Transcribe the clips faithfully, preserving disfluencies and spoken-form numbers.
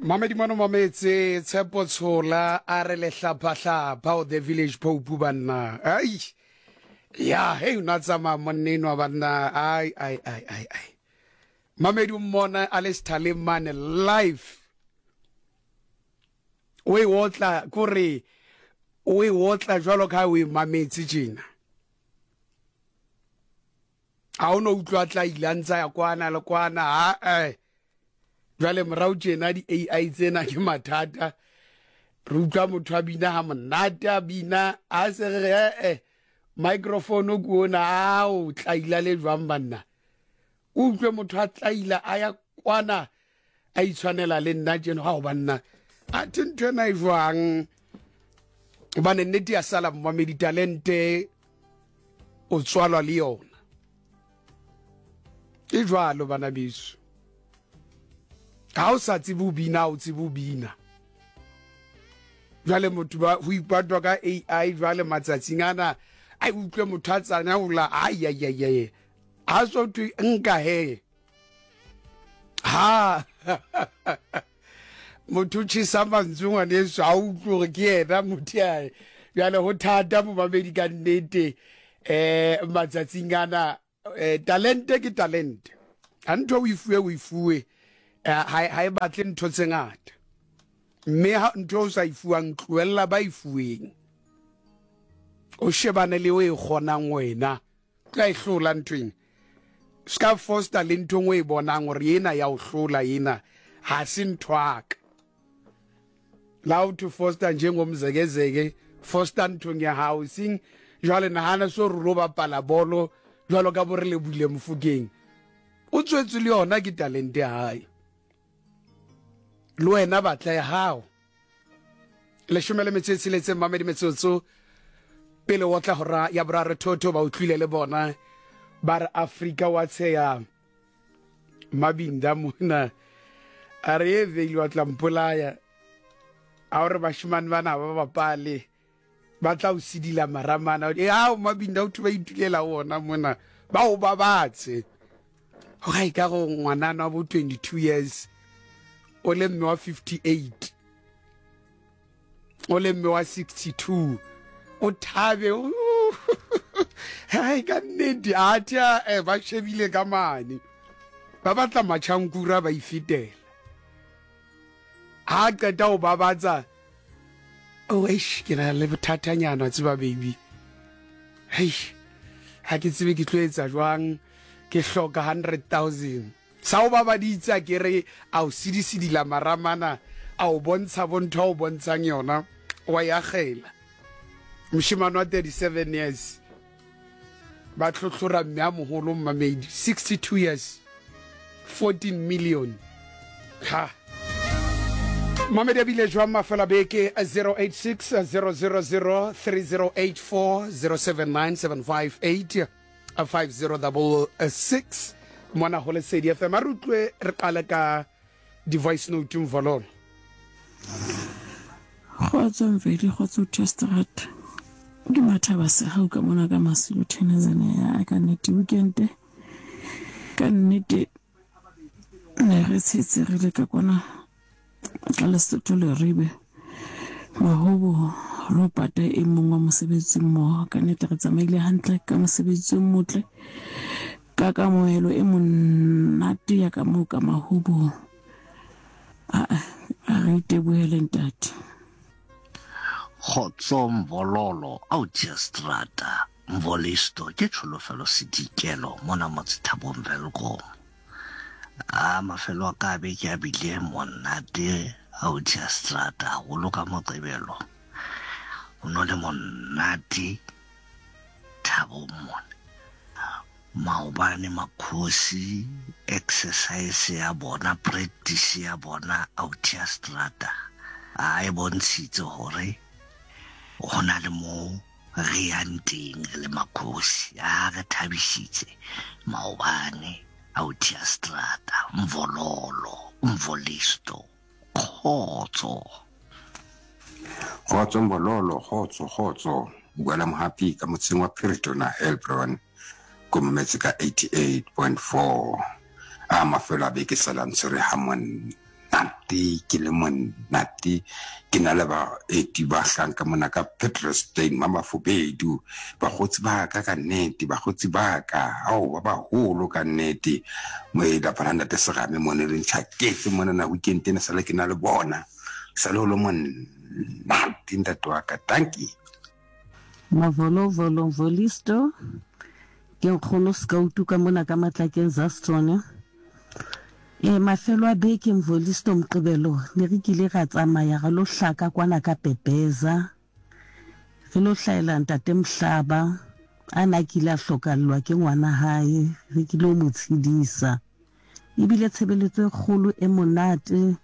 Mamedi mono mametse Tshepo Tshola a re lehlaphahlapha o the village pope banna. Ai. Ya, hey o na tsamaya monna enwa banna. Ai ai ai ai ai. Mamedi o mmona a le sethaleng mane live. O e otla kore o e otla jwalo ka ha o e mametse tjena. Ha o no utlwa tla ile a ntsa ya kwana le kwana ha eh. Jwale morao tjena di-A I tsena ke mathata. Re utlwa motho a bina ha monate a bina a se re re eh microphone ke ona a o tlaila le jwang banna. O utlwe motho a tlaila a ya kwana a itshwanela le nna tjena ha o banna. A the ntho ena e jwang? Hobane nnete ya sala momamedi talente o tswalwa le yona. E jwalo bana beso. Ha o sa tsebe ho bina, o tsebe ho bina. Jwale motho ba ho ipatwa ka A I jwale matsatsing ana a utlwe motho a tsana hola ai ai ai ai. Ha so thwe nka he. Ha motho o tjhesa mantswe ngwaneso ha o utlwe hore ke yena motho ya. Jwale ho thata momamedi ka nnete eh matsatsing ana eh talente ke talente. Ha ntho o e fuwe o e fuwe. Ha ha e batle ntho tse ngata. Mme ha ntho o sa e fuwang tlohella ba e fuweng. O shebane le o e kgonang wena. Tla e hlola nthweng. Ska foster le ntho o e bonang hore ena ya o hlola ena ha se ntho aka. La o to foster njengomzekezeke foster nthong ya hao sing jwale nahana so re lo bapala bolo jwalo ka bo re le buile Mofokeng. O tswetse le yona ke talente ya hae. Le wena batla ya hao. Leshome le metso e tsheletseng mamedi metsotso pele o tla hora ya boraro thotho ba utlwile le bona ba re Afrika wa tsheya Mabinda mona a re e veile wa tla mpolaya a hore bashimane bana ba bapale ba tla o sidila maramana e ha Mabinda o thuba itulela wona mona ba o babatse ho ga e ka go ngwanana wa bo twenty-two years o le mme wa fifty-eight o le mme wa sixty-two o thabe hai ka nnete a tja eh ba shebile ka mane ba batla matjhankura ba ifetela ha qeta o babatsa oh eish ke na le bothatanyana tseba baby hei ha ke tsebe ke tlo etsa jwang ke hloka hundred thousand sa o babaditsa ke re a o sidisidila maramana a o bontsha bontho o bontshang yona wa ya gela moshimane wa thirty-seven years ba tlhotlhora mme a moholo mmamedi sixty-two years fourteen million ha mamedi a bile jwang mafela beke zero eight six zero zero zero three zero eight four zero seven nine seven five eight five zero double six mona ho Lesedi F M a re utlwe re qale ka di-voice note mvololo. Kgotso Mveli, kgotso Testrat. Ke Mathaba Sehau ka mona ka Masilo Tanzania. Ya ka nnete weekend ka nnete ne re tshetse re le ka kwana ka Lesotho le Ribe mahobo ro pata e mong wa mosebetsi mmoho. Ka nnete re tsamaile hantle ka mosebetsi o motle ka kamohelo e monate ya ka moo ka mahobo. A re itebohele ntate. Kgotso Mvololo au Tiestrata Mvolisto ke tsholofelo sedikelo mona motse Thabong Welkom. A mafelo a ka beke a bile monate au Tiestrata haholo ka Moqebelo. O no le monate Thabong mona. Maobane makhosi exercise ya bona practice ya bona au Tiestrata a e bontshitse hore ho na le mo re yang teng re le makhosi a re thabisitse maobane au Tiestrata Mvololo Mvolisto kgotso. Kgotso Mvololo, kgotso kgotso bua mohapi ka motseng wa Phiritona Hebron ko mametse ka eighty-eight point four a mafelo a beke sala ntse re ha monate. Monate, ke le monate. Ke na le baeti ba hlang ka mona ka Petrolstein, Mamafobedu. Bakgotsi ba ka ka nnete, bakgotsi ba ka, ao ba baholo ka nnete. Mo e lapa la ntate Serame mone re ntjhaketse monana weekend ena sale ke na le bona. Sale ho le monate ntate wa ka. Dankie. Mavolovolo Mvolisto, ke nkgono Skautu ka mona ka Matlakeng Zastone. E mafelo a beke Mvolisto Moqebelo ne re kile ra tsamaya ra lo hlaka kwana ka Pepeza. Re lo hlaela ntate Mhlaba a na kile a hlokallwa ke ngwana hae, re kile ho mo tshedisa. Ebile tshebeletso e kgolo e monate.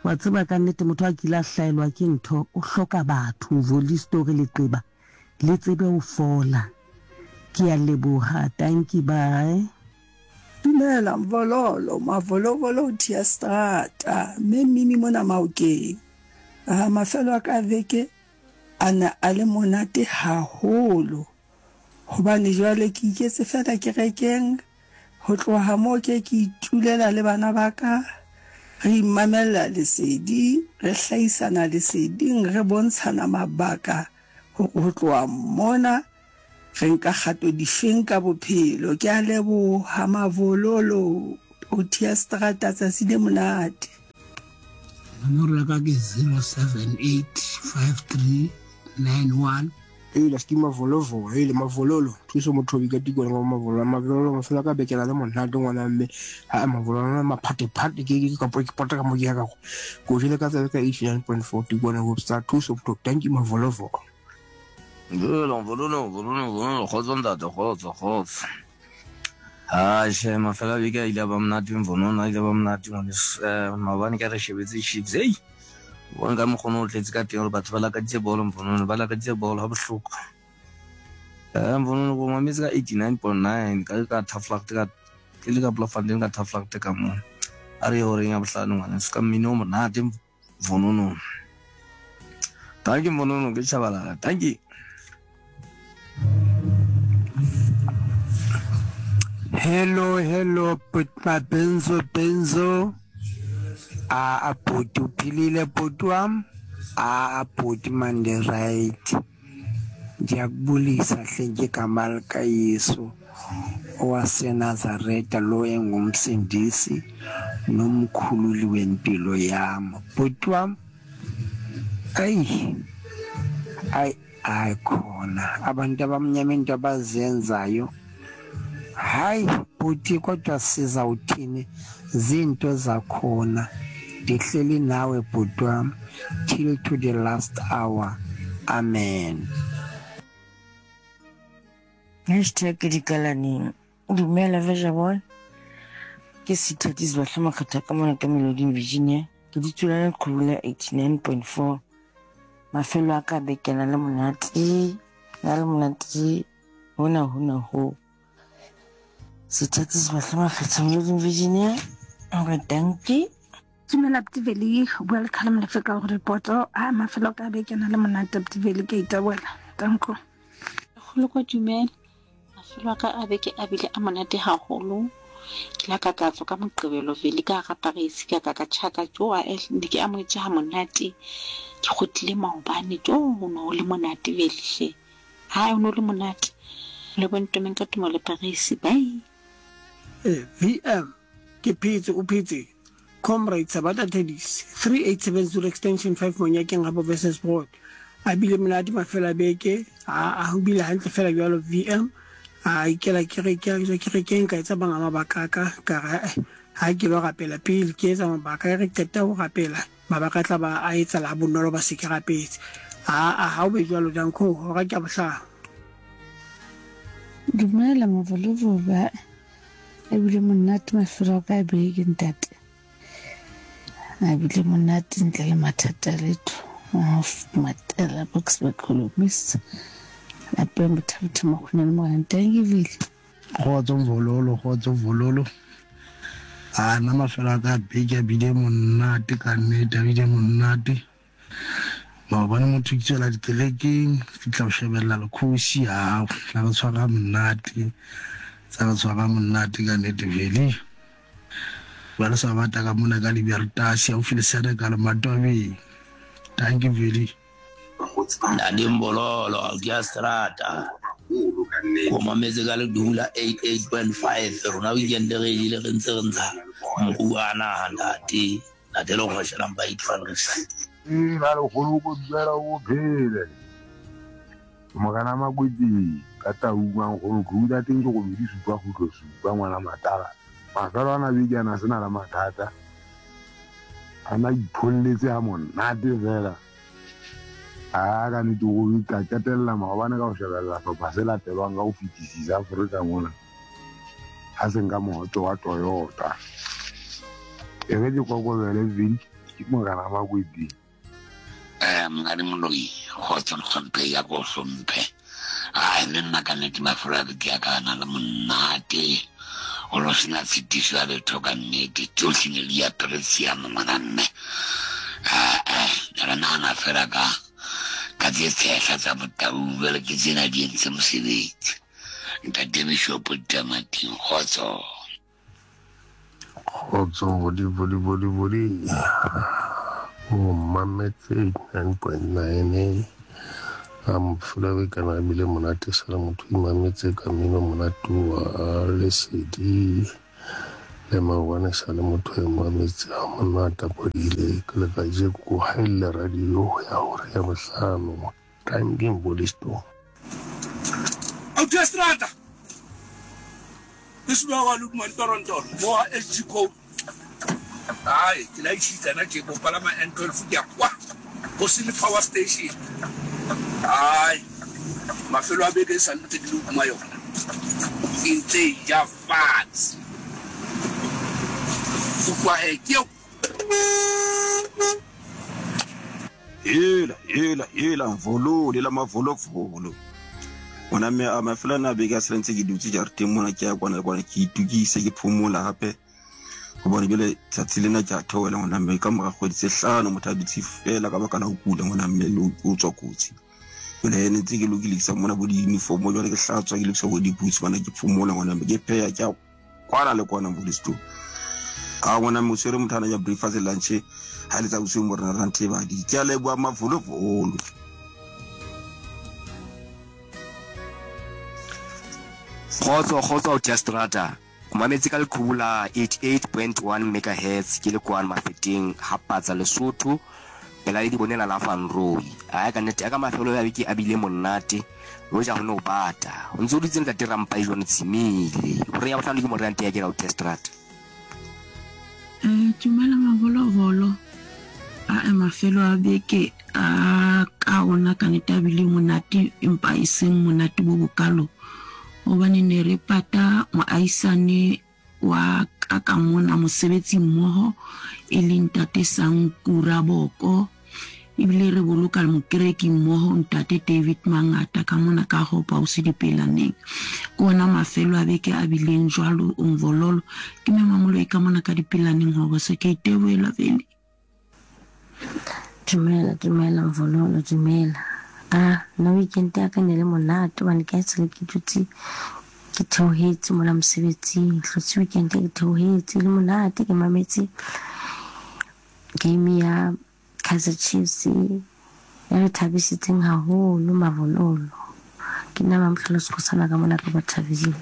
Wa tseba ka nnete motho a kile a hlaelwa ke ntho o hloka batho Mvolisto re leqeba le tsebe ho fola. Ke a leboha, tanki, bye. Dumela Mvololo, Mavolovolo Tia Strata, mme Mimi mona Maokeng. Ah, mafelo a ka veke a ne a le monate haholo. Hobane jwale ke iketse fela kerekeng, ho tloha moo ke ke itulela le bana ba ka, re imamella lesedi, re hlahisana leseding, re bontshana mabaka hore ho tloha mona re nka kgato difeng ka bophelo. Ke a leboha Mavololo, Protea Strata, tsatsi le monate. Nomoro ya ka ke zero seven eight five three nine one. Eila ski mavolovolo, eile mavololo, thuso mothobi ka tikolo ngwa mavololo, mavololo mafelo ka bekela le monate ngwana mme, ha mavololo maphatephate ke ke ka ke pota ka mo ke ya ka go. Ko jele ka tsela ka eighty nine point four tikolo Webster thuso motho, thank you mavolovolo. Vololo, vololo, vololo, vololo, kgotso ntate, kgotso, kgotso. Ah, she mafelo a beke a ile a ba monate, Mvonono a ile a ba monate ngwaneso. Eh, maobane ka re shebetse Chiefs, hey. Bona ka mokgwa o tletse ka teng hore batho ba lakaditse bolo Mvonono, ba lakaditse bolo ha bohloko. Eh, Mvonono go mametse ka eighty nine point nine ka ka Taflagte ka ke le ka Bloemfontein ka Taflagte ka mo. A re horeng ya bohlano ngwaneso ka mmino o monate Mvonono. Thank you Mvonono, ke Tshabalala. Thank you. Hello, hello, Putma Benzo, Benzo. Ah, aputi uphilile bhuti wam. Ah, aputi mande right. Ndiyakubulisa hle ngegama likaYesu owaseNazaretha lo engumsindisi nomkhululi wempilo yam. Bhuti wam, ayi, ayi, ayi khona abantu abamnyama into abazenzayo. Hayi bhuti, kodwa sizawuthini, zinto zakhona. Ndihleli nawe bhuti wam till to the last hour. Amen. Hashtag dikalaneng. Dumela Veja. Ke Sithatisi Bahle Makgatha ka mona ka Meloding Virginia. Ke ditswela leqhubu la eighty nine point four. Mafelo a ka bekena le monate, na le monate hona hona ho. Sithatisi Bahle Makgatha Meloding Virginia. Hore dankie. Dumela Ptiveli, welcome le feka go repoto. A mafelo ka bekena le monate Ptiveli ke iteboela. Danko. Kgolo kwa dumela. Mafelo a ka a beke a bile a monate haholo. Ke la ka ka tswa ka Moqebelo vele ka hara Paris ka ka ka tjhaka jo a ne ke amohetse ha monate. Ke kgutlile maobane jo ho no le monate vele hle. Ha o no le monate. Le bontomeng ka tumo le Paris. Bye. Eh, V M ke phetse o phetse. Comrade Sabata Tedis three eight seven zero extension five Monyakeng habo versus Broad. A bile monate mafelo a beke, a a ho bile hantle fela jwalo V M. A ikela kereke, a tswa kerekeng ka etsa banga mabaka ka ka re ha ke lo rapela pele ke etsa mabaka re qeta ho rapela mabaka tla ba a etsa la bonolo ba se ke rapetse. A a ha o be jwalo danko hora ke a bohlano. Dumela Mavolovolo, e bile monate mafelo a ka beke ntate. A bile monate ntle le mathata letho. Matela box bakhulumisa. Lapeng bothabotha makgone le morena thank you vele. Kgotso Mvololo, kgotso Mvololo. A nna mafelo a ka beke a bile monate ka nnete, a bile monate. Maobane motho ke tswela dikerekeng, fihla ho shebella lekgosi, ha tla re tshwara monate. Tsa re tshwara monate ka nnete vele. Jwale sa bata ka mona ka Libertas haufi le Senekal Matwabeng. Dankie Veli. Ntate Mbololo a ke a strata. O mametse ka ledumo la eight eight point five. Rona weekend re ile re ntse re ntsha moruo a naha, ntate. Ntate le kgosha number eight van Riesel. Ina lekgolo ko dumela o phele. Morena Makweteng ka Taung nkgono khuta teng ke robedi supa kgutlo supa ngwana matala. Mafelo ana beke ana se na le mathata. Ana ipholletse ha monate fela. A ka nnete go ka qetella maobane ka ho shebella hlopha se latelwang ka ho fetisisa Afrika mona. Ha se nka mohoto wa Toyota. E re ke kokobele Vin ke Morena Makweteng. Eh, Monghadi Moloi, kgotso le hlomphe ya ko hlomphe. Ai, le nna ka nnete mafelo a beke a ka na le monate. O lo sena tshitiso ya letho ka nnete. Tsohle ne di apere tshiamo ngwana mme. Eh, eh, re nahana fela ka ka tse tshehla tsa botau jwale ke tsena di entse mosebetsi. Ntate Bishop Tamating, kgotso. Kgotso, bodi, bodi, bodi, bodi. O mametse eighty-nine point nine. A mafelo a beke ana a bile monate sala motho imametse ka mmino monate wa Lesedi le maobane sa le motho e mametse ha monate a phodile ke le kajeko ko haella radio ya hora ya bohlano. Tanki Mbolisto. Autia strata. Ke suba wa Lukman Toronto mo ha S G code. Ai, ke la itshitsa na ke go palama N twelve ke ya kwa go se le power station. Ai, mafelo a beke sa ntse di le kuma yona. E ntse e ja fatshe. Utlwa he ke eo. Hela hela hela mvolole la mavolovolo. Ona mme a mafelo ana a beke a sale ntse ke dutse jareteng mona, ke ya kwana le kwana, ke itukise, ke phomola hape hobane jwale tsatsi lena ke a theohela ngwana mme ka mora kgwedi tse hlano motho a dutse fela ka baka la ho kula ngwana mme le o tswa kotsi. Jwale ne ntse ke lokisa mona bo di-uniform, jwale ke hlatswa, ke lokisa bo di-boots bana, ke phomola ngwana mme, ke pheha, ke ya kwana le kwana Mbolisto. A ngwana mme o tshwere motho ana ja breakfast le lunch ha le tsa bosiu mo rena re nthebadi. Ke a leboha mavolovolo. Kgotso, kgotso, Autia Strata. O mametse ka leqhubu la eighty-eight point one megahertz ke le kwano Mafeteng ha Patsa Lesotho pela le dibonela la Van Rooi. Aya ka nnete a ka mafelo ya beke a bile monate le hoja ho no bata. O ntse o dutse ntate Rampai jwano tshimile. Hore ya bohlano ke morante ya ke Autia Strata. Eh, dumela mavolovolo. A e mafelo a beke a ka ona ka nnete a bile monate empa e seng monate bo bokalo. Hobane ne re pata moahisane wa ka ka mona mosebetsi mmoho e leng ntate Sankura Boko, ebile re boloka mokereki mmoho ntate David Mangata ka mona ka Hope House Dipelaneng. Ke ona mafelo a beke a bileng jwalo Mvololo. Ke mme Mamoloi ka mona ka Dipelaneng hore se ke itebohela vele. Dumela, dumela Mvololo, dumela. Ah, nna weekend ya ka ne le monate hobane ka esale ke dutse ke theohetse mona mosebetsing. Hlotse weekend ke theohetse le monate, ke mametse game ya Kaizer Chiefs ya re thabisitseng haholo Mavololo. Ke nna Mamhlolo Sekgosana ka mona ka Bothaville.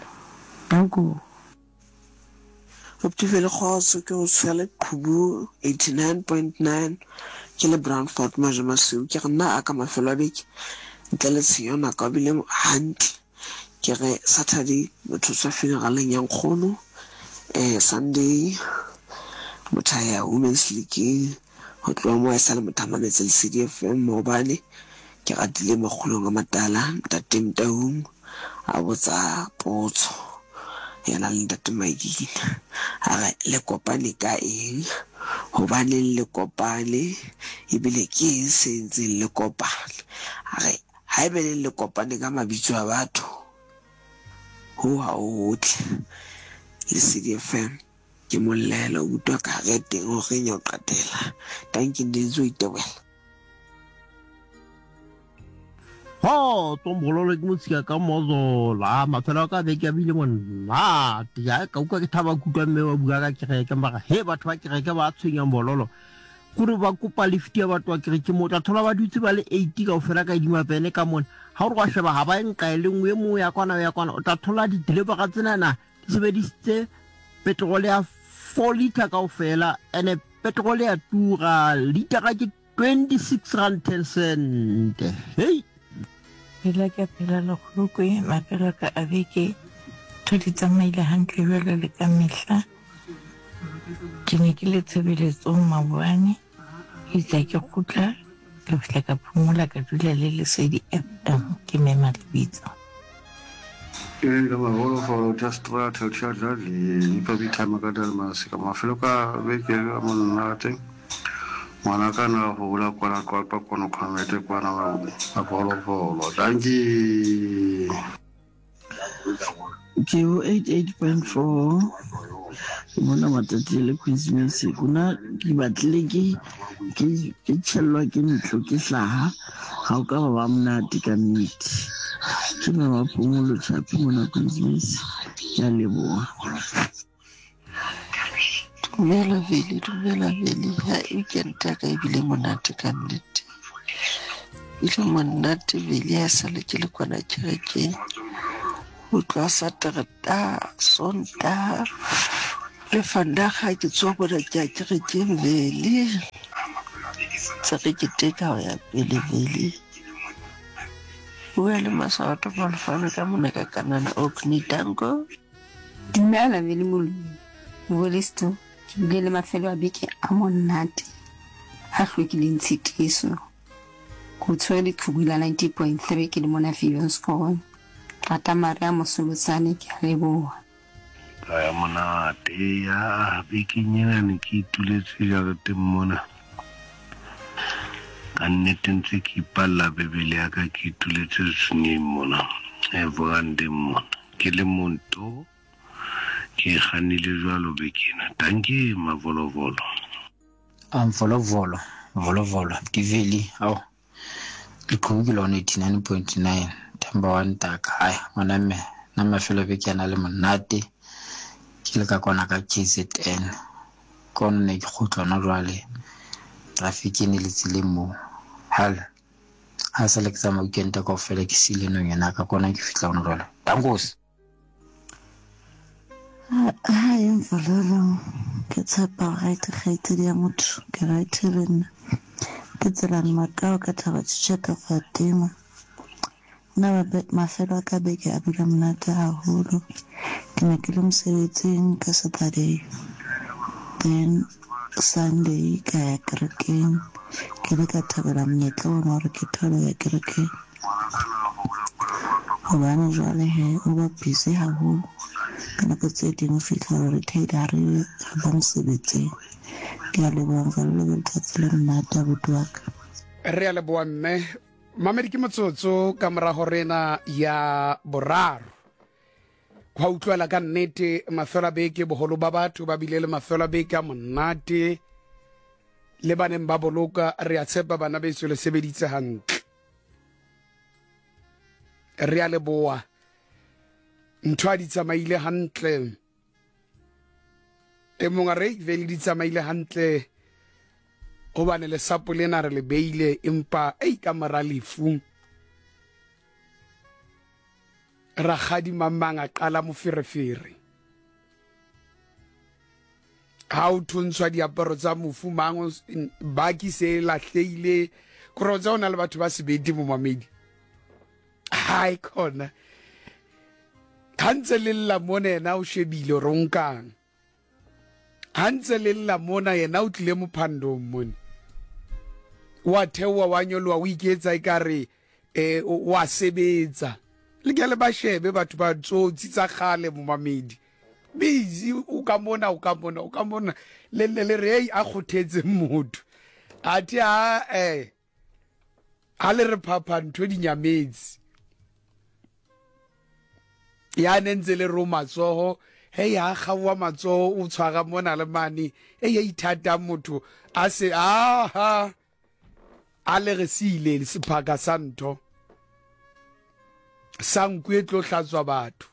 Danko. Optivele kgotso, ke o tshwere qhubu eighty-nine point nine ke le Brownford Majamasiu. Ke re nna a ka mafelo a beke ntle le tshenyo nako a bile hantle. Ke re Saturday motho tswa funeraleng ya nkgono, eh Sunday motho a ya Women's League, ho tloha moo a sale motho a mametse Lesedi F M. Maobane ke ratile makgolong a matala ntate Mtaung a botsa potso yena le ntate Maikina, a re le kopane ka eng, hobaneng le kopane, ebile ke eng se entseng le kopane. A re haebe le le kopane ka mabitso a batho, ho ha o hotle. Lesedi F M ke mollela utlwa ka re teng horeng ya ho qetela. Tanki ntse o itebohela. Kgotso Mbololo ke motshika ka mozola mafelo a ka beke a bile monate ya ka utlwa ke thaba kutlwa mme wa bua ka kereke mara he batho ba kereke ba tshwenya Mbololo kore ba kopa lift ya batho ba kereke mo tla thola ba dutse ba le eighty kaofela ka edima pene ka mona ha o re wa sheba ha ba e nka e le nngwe e mongwe ya kwana ya kwana o tla thola di-delivery tsenana di sebedisitse petrol ya four liter kaofela ene petrol ya tura litera ke twenty-six rand ten cent. Hey Phela ke a phela lekgolokwe mafelo a ka a beke ntho di tsamaile hantle jwalo le ka mehla. Ke ne ke le tshebeletsong maobane, itse ke kgutla ka fihla ka phomola ka dula le Lesedi F M ke mema lebitso. Ee, ka mafolofolo tša strata tša dlale ipa bitama ka dalmase ka mafelo ka beke a monate ngwana ka na go bula kwana kwapa kono khamete kwana mafolofolo danki ke ho eight eight point four ke mona matsatsi le Christmas kuna ke batlile ke ke ke tjhellwa ke ntlo ke hlaha ha o ka ba ba monate ka nnete ke mama phomolo tjhapi mona Christmas ke a leboha. Dumela Veli, dumela Veli. Ha weekend ya ka ebile monate ka nnete. Ile monate Veli ha sale ke le kwana kerekeng. Ho tloha Satereta, Sontaha le Vandag ke tswa bona ke ya kerekeng Veli. Tse re keteka ho ya pele Veli. Bua le Maswato Malfane ka mona ka Kanana Orkney Tango. Dumela Veli Moloi. Bolisto ke bile le mafelo a beke a monate a hlwekileng tshitiso. Ko tshwere leqhubu la ninety point three ke le mona Viljoenskroon. Rata Maria Mosolotsane ke a leboha. Ka ya monate ya bekeng ena ne ke ituletse jareteng mona. Ka nnete ntse ke ipalla Bebele ya ka ke ituletse senyeng mona, e verandeng mona. Ke le monto ke kgannile jwalo beke ena. Dankie mavolovolo. Amvolovolo, volovolo, ke Veli, ao. Leqhubu ke lona eighty-nine point nine, thamba wa ntaka. Hai, ngwana mme, nna mafelo a beke a na le monate. Ke le ka kwana ka K Z N. Ke ona ne ke kgutla hona jwale. Traffic e ne le tseleng moo. Hal, ha sa le ke tsamaya weekend kaofela ke siile nonyana ka kona ke fihla hona jwale. Dankos. Hi, Mvololo. Ke tshepa right kgaitsedi ya motho ke right le nna. Ke tselane Makao ka Thaba Tjeka Fatima. Nna mafelo a ka beke a bile monate haholo. Ke ne ke le mosebetsing ka Saturday. Then Sunday ka ya kerekeng. Ke ile ka thabela monyetla ona hore ke thole ho ya kerekeng. Hobane jwale he o ba busy haholo. Ka nako tse ding o fihla hore re ha re ba mosebetsing. Ke a leboha Mvololo, le letsatsi le monate abuti wa ka. Re a leboha mme. Mamedi ke motsotso ka morago rena ya boraro. Hwa utlwela ka nnete mafelo a beke boholo ba batho ba bile le mafelo a beke a monate. Le baneng ba boloka re a tshepa bana beso le sebeditse hantle. Re a leboha. Ntho a di tsamaile hantle. E mong a re vele di tsamaile hantle hobane lesapo lena re le beile empa ei ka mora lefu. Rakgadi mang a qala moferefere. Ha o thuntshwa diaparo tsa mofu mang baki se lahlehile. Kore tsa ona le batho ba sebedi momamedi. Hai khona. Ha ntse le lla mona yena o shebile hore o nkang. Ha ntse le lla mona yena o tlile mophandong mona. Wa theoha wa nyoloha o iketsa ekare eh wa sebetsa. Le ke le ba shebe batho ba tsotsi tsa kgale momamedi. Busy o ka mona o ka mona o ka mona le le le re a kgothetse motho. Athe ha eh ha le re phapha ntho di nyametse. Ya ne ntse le ro matsoho he ya kgaowa matsoho o tshwara mona le mane e ya ithata motho a se aha a le re siile sephaka sa ntho. Sa nku e tlo hlatswa batho.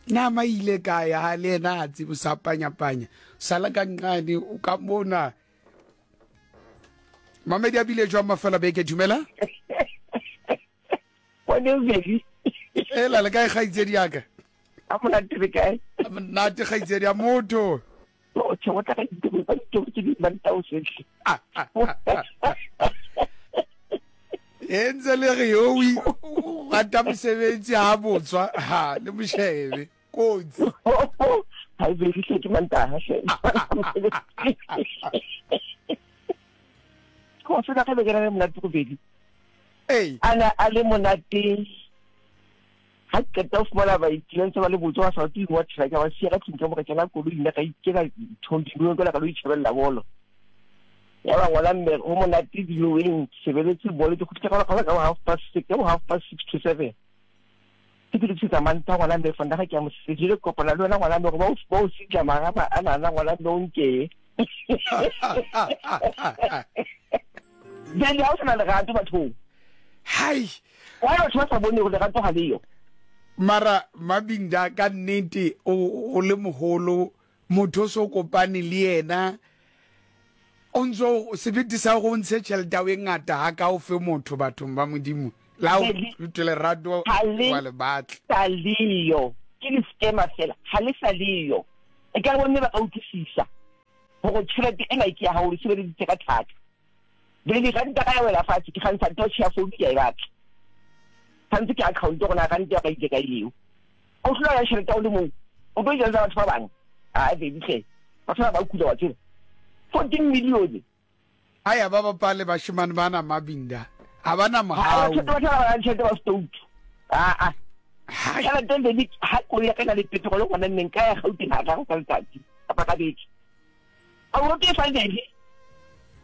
Nama ile kae ha le yena a tsebe sa panya-panya. Sala ka nqane o ka mona. Mamedi a bile jwang mafela beke, dumela? Ela le kae kgaitsedi ya ka? A monate le kae? A monate kgaitsedi ya motho. O tjho o tla ka ditebo ba ditebo tse di banta o sohle. E ntse le re yo o rata mosebetsi ha botswa ha le moshebe kotsi. Ha e be ke mantaha hle. Ko se ka be ke re monate go bedi. Ei. Ana a le monate. Ha ke qeta ho fumana baeti ba ntse ba le botswa ba sa tsebe wa tjhela ka ba siya ka tlung ka mo ka kena koloi nna ka ikela thondilong ka la ka lo itjhebella bolo. Ya ba ngwana mme ho monate diloweng sebeletse bolo ke kgutla ka ka half past six ka half past six to seven. Ke ke tsa manta ngwana mme fonda ga ke a mosebetsi le kopana le wena ngwana mme go ba o ba o sitla marama a nana ngwana mme o nke. Jale ha o sena lerato bathong. Hai. Wa batho ba sa bone hore lerato ha le yo. Mara Mabinda ka nnete o le moholo motho so kopane le yena o ntso sebete sa go ntshe tšhelete e ngata ha ka o fe motho bathong ba Modimo la o rute lerato wa le batla sa leyo ke di scammer fela ha le sa leyo e ka bonne ba ka utlwisisa hore tšhelete ena ke ya hao o sebeleditse ka thata le di ranta ka ya wela fatshe ke kgantsha touch ya phone ke ya e batla tshwanetse ke account rona ranta ka ile ka eo o hlola ya tšhelete o le mong o tlo jela batho ba bang a baby hle batho ba ba kula wa tsela fourteen million aya ba bapale bashimane bana Mabinda ha bana mohau batho ba ba tšhelete ba stout a a tšhelete le ha koloi ya ka na le petrol gona nne nka ya Gauteng ha ka ka letsatsi kapa ka beke a o ke fa le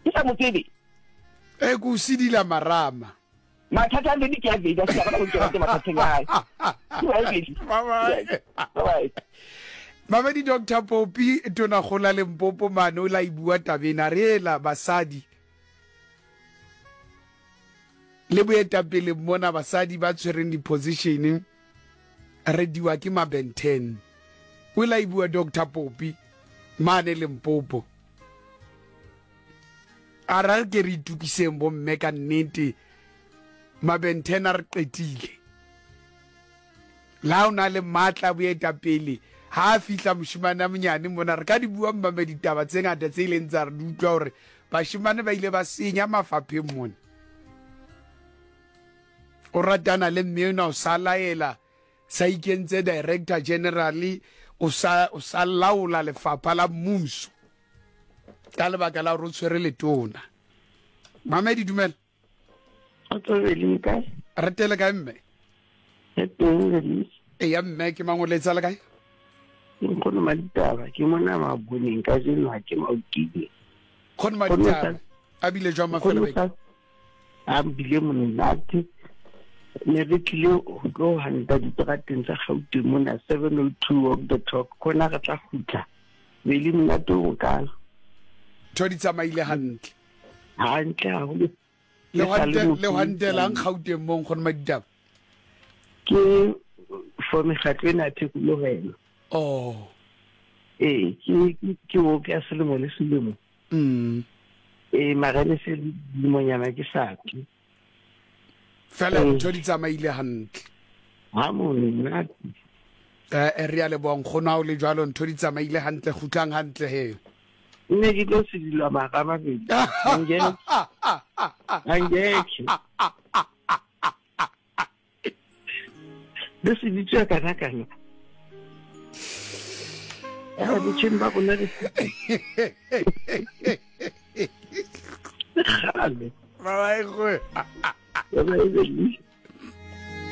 ke sa motsebe e ku sidila marama mathata a le ke a bedi a se ka go tswa ke mathateng a hae. Bye bye. Mamedi Doctor Popi tona gola Limpopo mane o la ibua tabena re ela basadi le boetapele mona basadi ba tshwereng di-position re diwa ke mabenten o la ibua Doctor Popi mane Limpopo a ra ke re itukiseng bomme ka nnete mabenten a re qetile la o na le matla boetapele ha a fihla moshimane a monyane mona re ka di bua mmame ditaba tse ngata tse ileng tsa re di utlwa hore bashimane ba ile ba senya mafapheng mona o ratana le mme ona o sa laela sa ikentse director general o sa o sa laola lefapha la mmuso ka lebaka la hore o tshwere letona. Mamedi dumela. Re tele kae mme? Eya mme ke mang o letsa le kae? Nkgono Maditaba ke mona maboneng ka jeno ha ke maokile. Nkgono Maditaba a bile jwang mafelo beke? A bile monate. Ne re tlile ho tlo hanta diterateng tsa Gauteng mona seven oh two walk the talk khona re tla kgutla. Be le monate o kalo. Ntho di tsamaile hantle. Hantle haholo. Le hante le hantelang Gauteng mo Nkgono Maditaba? Ke for mekgatlo ena ya thekolohelo. Oh. Eh, ke ke o ke selemo le selemo. Mm. Eh, mara le se limonyana ke sa tle. Fela ntho di tsamaile hantle. Ha monate. Eh, re a leboha nkgono ha o le jwalo ntho di tsamaile hantle kgutlang hantle he. Nne ke tlo sedilwa mara mabedi. Angeke. Angeke. Le seditswe kana kana. Ya botjheng ba rona re kgale. Bye bye. Bye bye.